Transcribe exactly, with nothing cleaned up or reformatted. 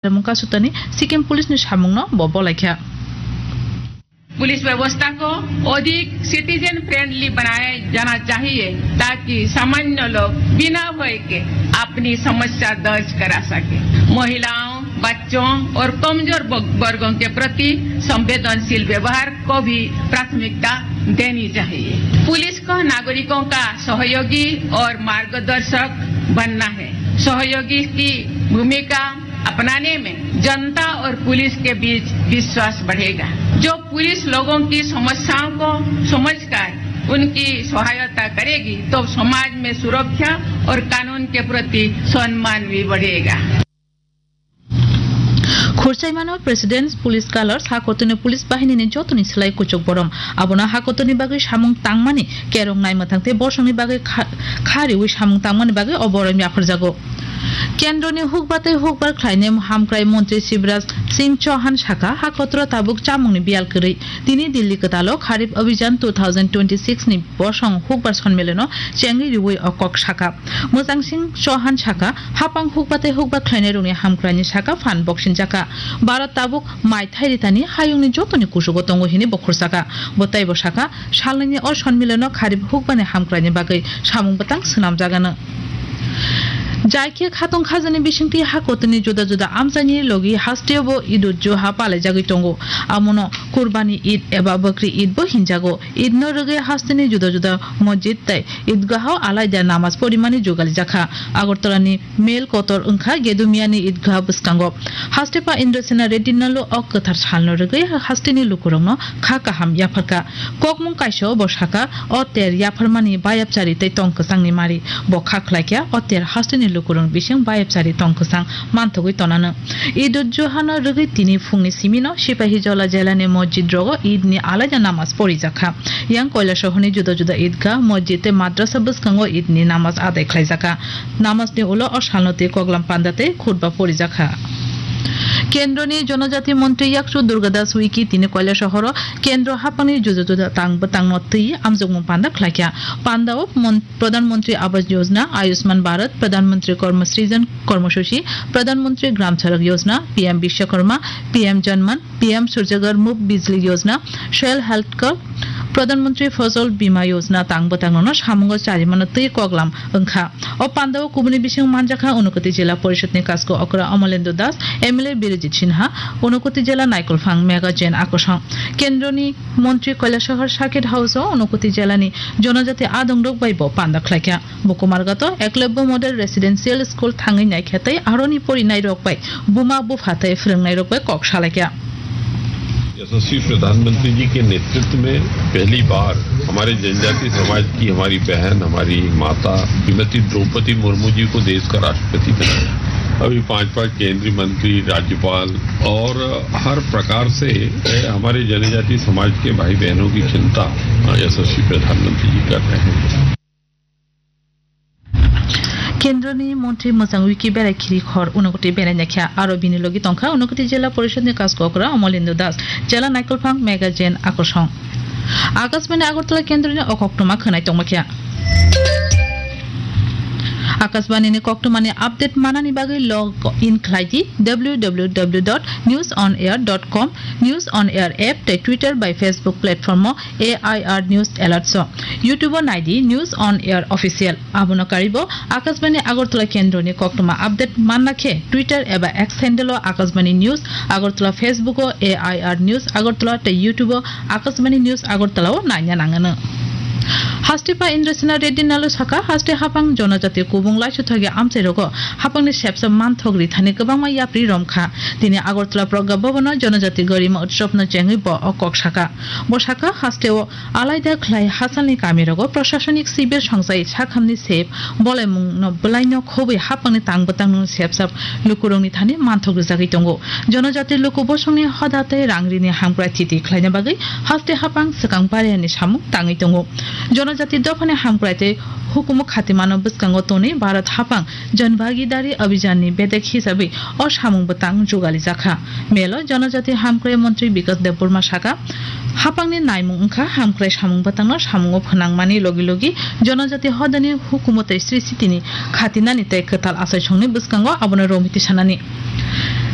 Mungka sutani Sikkim Police ni samungno bo bolaikha. Police व्यवस्था को अधिक सिटीजन फ्रेंडली बनाया जाना चाहिए, ताकि सामान्य लोग बिना भय के अपनी समस्या दर्ज करा सके। महिलाओं, बच्चों और कमजोर ब-, वर्गों के प्रति संवेदनशील व्यवहार को भी प्राथमिकता देनी चाहिए। पुलिस को नागरिकों का सहयोगी और मार्गदर्शक बनना है। सहयोगी की भूमिका अपनाने में जनता और पुलिस के बीच विश्वास बढ़ेगा। जो पुलिस लोगों की समस्याओं को समझकर उनकी सहायता करेगी, तो समाज में सुरक्षा और कानून के प्रति सम्मान भी बढ़ेगा। Khursaimano President's Police Colours, hakotwino police bahinini jotoni slai kuchuk borom. Abono hakotwini bagwi samung tangmani kerong naimwthang tei bosongni bagwi kha-, kha riwi samung tangmani bagwi o borom yapharjago. Kendroni hukba tei hukbar khlainai hamkrai montri Shivraj Singh Chauhan sakha, hakotro tabuk chamungni biyal kwrwi. Tini Delhi kwtalo Kharif Abhijan two thousand twenty-six ni bosong hukbar sonmilano chengwi riwi o kok sakha. Mwchang Singh Chauhan sakha, hapang hukba tei hukba khlainairokni hamkraini saka phan boksinjakha. Bharat tabuk mai thairi thani hayungni jotoni kusugo tongo hini bo khursakha. Bo teibo sakha, salnwini o sonmilano Kharif hukbani hamkraini bagwi samung bwtang swnamjagano. Jaikhe khatong khajani bisingtwi hakotwini juda juda amchaini logi hasteo bo Eid-ud-Zuha palaijagwi tongo. Amono Kurbani Eid eba Bakri Eid bo hinjago. Eid no rwgwi hasteni juda juda mosjid tei idgaho alaida namaz porimani jugali jakha. Agartala ni Mel kotor wngkha Gedumiani idgah bwskango. Haste pa Indrasena Reddy Nallu o kwthar salno rwgwi hasteni lukurokno kha kaham yapharkha. Kokmung kaisa bo sakha, o ter yapharmani bayapchari tei tong kwchangni mari. Bo kha khlaikha, o ter hasteni lukurokni bising bayapchari tong kwchang manthogwi tonano. Eid-ud-Zuhano rwgwi tini phungni simino Sipahijola jelani mosjid rogo Eid ni alaida namaz porijakha. Yang Koilasohorni juda juda idgah, mosjid tei madrasa bwskango Eid ni namaz adai khlaijakha. Namazni ulo o salno twi koklam panda tei khutba porijakha. Kendroni Jonojati Montri Yakchu Durga Das Uiki tini Koilasohoro Kendro haphangni juda juda tang bwtangno twi amjokmung panda khlaikha. Pandao mon-, Pradhan Mantri Awas Yojana, Ayushman Bharat, Pradhan Mantri Karma Srijan Karmasuchi, Pradhan Mantri Gram Sadak Yojana, P M Bishwakarma, P M Janman, P M Surya Ghar Muft Bijli Yojana, Soil Health Card, Pradhan Mantri Fasal Bima Yojana tang bwtangno samungo charimano twi koklam wngkha. O pandao kubuni bising manjakha Unakoti Jila Porishadni Kasko Okra Amalendra Das, M L A Birajit Sinha, Unakoti Jila Naikolphang Megha Jain Akosong, Kendroni Montri Koilasahar Circuit House o Unakoti Jilani Jonojati adongrok bai bo panda khlaikha. Bo Kumarghato Eklavya Model Residential School thangwi naikha tei aroni porinairok bai buma bupha tei phwrwngnairok bai kok salaikha. यशस्वी प्रधानमंत्री जी के नेतृत्व में पहली बार हमारे जनजाति समाज की हमारी बहन, हमारी माता श्रीमती द्रौपदी मुर्मू जी को देश का राष्ट्रपति बनाया। अभी पांच पांच केंद्रीय मंत्री, राज्यपाल और हर प्रकार से हमारे जनजाति समाज के भाई बहनों की चिंता यशस्वी प्रधानमंत्री जी कर रहे हैं। Kendroni Montri Mwchang Uiki berai khiri khor Unakoti berai naikha, aro bini logi tongkha Unakoti Jila Porishadni Kasko Okra Amalendra Das, Jila Naikolphang Megha Jain Akosong. Akashbani Agartala Kendroni o koktwma khwnai tongmakha. Akashbani ni koktwmani update manani bagwi log in khlai di W W W dot news on air dot com, News on Air app tei Twitter bai Facebook platform o A I R News Alerts o. YouTube o nai di News on Air Official. Abono karibo Akashbani Agartala Kendroni koktwma update manna khe Twitter eba X handle o Akashbani News Agartala, Facebook o A I R News Agartala tei YouTube o Akashbani News Agartala o naina nangano. Haste pa Indrasena Reddy Nallu sakha, haste haphang jonojati kubung laisuthogi amchairogo haphangni sepsa manthok rithani kwbangma yapri romkha. Tini Agartala Pragya Bhavan o Jonojati Garima Utsav no chengwi bo o kok sakha. Bo sakha, hasteo alaida khlai hachalni kamirogo prashasonik sibir songchai sakhamni sep bolaimungno bwlaino khobwi haphangni tang bwtangno sepsa lukurokni thani manthok rwjagwi tongo. Jonojati luku bosongni hoda tei rang rini hamkrai thiti khlaina bagwi haste haphang swkang pariani samung tangwi tongo. Jonojati dophani hamkrai tei hukumu khatimano bwskango tonwi Bharat haphang Jan Bhagidari Abhijan ni bedek hisabwi o samung bwtang jugali jakha. Melo Jonojati Hamkrai Montri Bikas Debbarma sakha, haphangni naimung wngkha hamkrai samung bwtangno samungo phnangmani logi logi Jonojati hodani hukumu tei sri sitini khatinani tei kwtal achaisongni bwskango abono romwi tisanani.